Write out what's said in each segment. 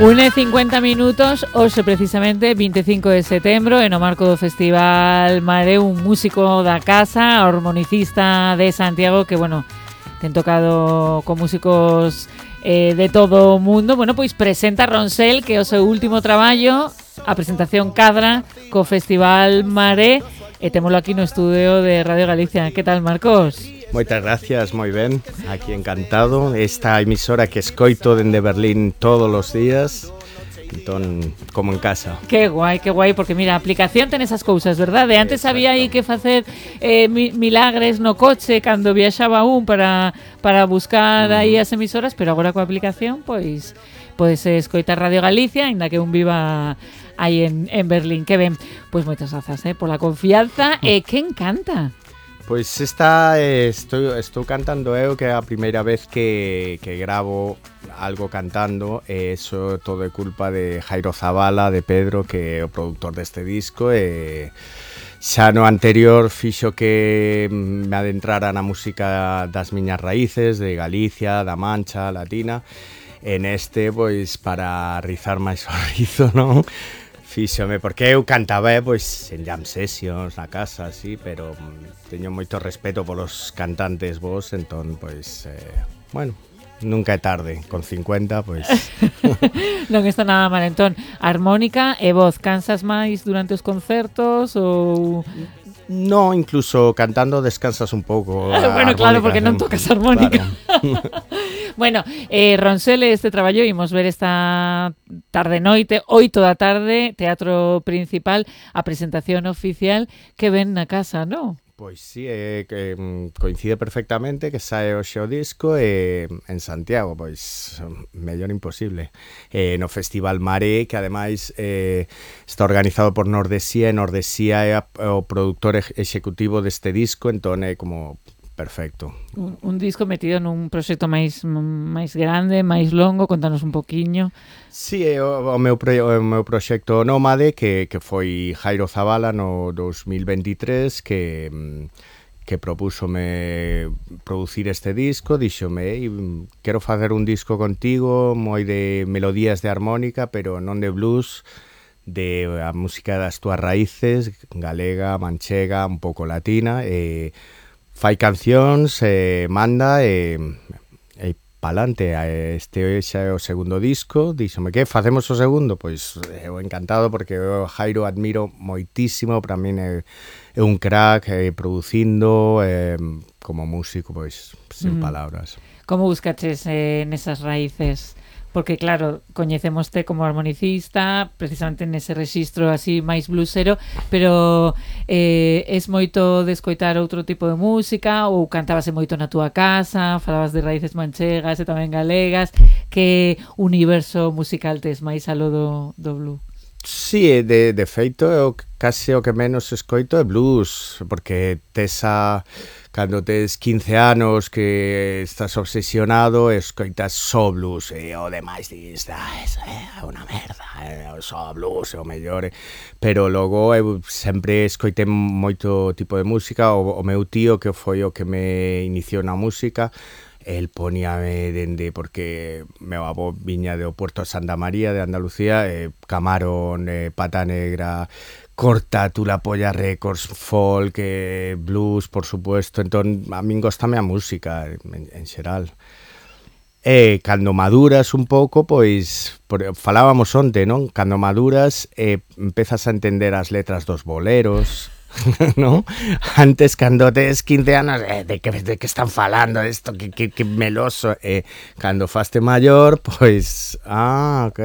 1:50, hoxe precisamente 25 de setembro, e no marco do Festival Mare, un músico da casa, armonicista de Santiago, que, bueno, ten tocado con músicos de todo o mundo. Bueno, pois presenta Ronsel, que é o seu último traballo, a presentación cadra co Festival Mare, e témolo aquí no estudio de Radio Galicia. Que tal, Marcos? Moitas gracias, moi ben, aquí encantado. Esta emisora que escoito dende Berlín todos os días, entón, como en casa. Que guai, porque mira, a aplicación ten esas cousas, verdade? Antes había aí que facer milagres no coche cando viaxaba un para buscar aí as emisoras, pero agora coa aplicación, pois podes escoitar Radio Galicia, aínda que un viva aí en Berlín. Que ben, pois moitas grazas pola confianza. E quen canta? Pois esta estou cantando eu, que é a primeira vez que gravo algo cantando, e eso todo é culpa de Jairo Zabala, de Pedro, que é o produtor deste disco, e xa no anterior fixo que me adentrara na música das miñas raíces, de Galicia, da Mancha, latina, e neste, pois, para rizar máis o rizo, non? Fíxome, porque eu cantaba pois en jam sessions na casa, así, pero teño moito respeto polos cantantes vos, entón, pois, bueno, nunca é tarde, con 50, pois... Non está nada mal, entón, armónica e voz, cansas máis durante os concertos ou... No, incluso cantando descansas un pouco. Bueno, claro, porque non tocas armónica. Claro. Bueno, Ronsel, este traballo imos ver esta tarde-noite, 8 da tarde, Teatro Principal, a presentación oficial que ven na casa, non? Pois sí, que coincide perfectamente que sae hoxe o disco en Santiago, pois mellor imposible. No Festival Mare, que ademais está organizado por Nordesía, e Nordesía é o produtor executivo deste disco, entón é como perfecto. Un disco metido nun proxecto máis grande, máis longo, contanos un poquiño. Sí, o meu proxecto Nómade, que foi Jairo Zabala no 2023, que propúxome producir este disco, díxome, quero facer un disco contigo, moi de melodías de armónica, pero non de blues, de a música das túas raíces, galega, manchega, un pouco latina, fai cancións, manda e palante. Este xa é o segundo disco. Díxome, que facemos o segundo? Pois eu encantado, porque eu Jairo admiro moitísimo, para min é un crack producindo, como músico, pois sin palabras. Como buscaches nesas raíces? Porque claro, coñecémoste como armonicista, precisamente nese rexistro así máis bluesero, pero es moito de escoitar outro tipo de música, ou cantabase moito na túa casa, falabas de raíces manchegas e tamén galegas. Que universo musical tes máis alo do blues? Sí, de feito, eu case o que menos escoito é blues, porque cando tes 15 anos que estás obsesionado, escoitas só blues, e o demais dis, é unha merda, só blues é o mellor, pero logo eu sempre escoitei moito tipo de música. O meu tío, que foi o que me iniciou na música, el poníame dende, porque meu avó viña do Puerto de Santa María de Andalucía, Camarón, Pata Negra, Corta, Tú la Polla Records, folk, blues, por supuesto. Entón, a min gostame a música en xeral. E cando maduras un pouco, pois falábamos onte, non? Cando maduras empezas a entender as letras dos boleros, ¿no? Antes, cando tes 15 anos, de que están falando isto, que meloso, cando faste maior, pois, ok,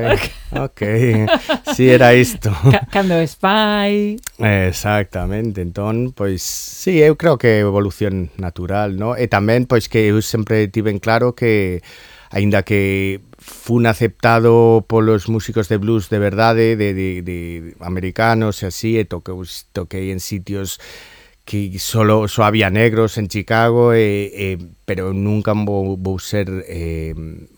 si era isto. Cando es pai. Exactamente, entón, pois, sí, eu creo que é evolución natural, ¿no? E tamén, pois, que eu sempre tiven claro que, aínda que fun aceptado polos músicos de blues de verdade, de americanos e así, e toquei en sitios que só había negros en Chicago, pero nunca vou ser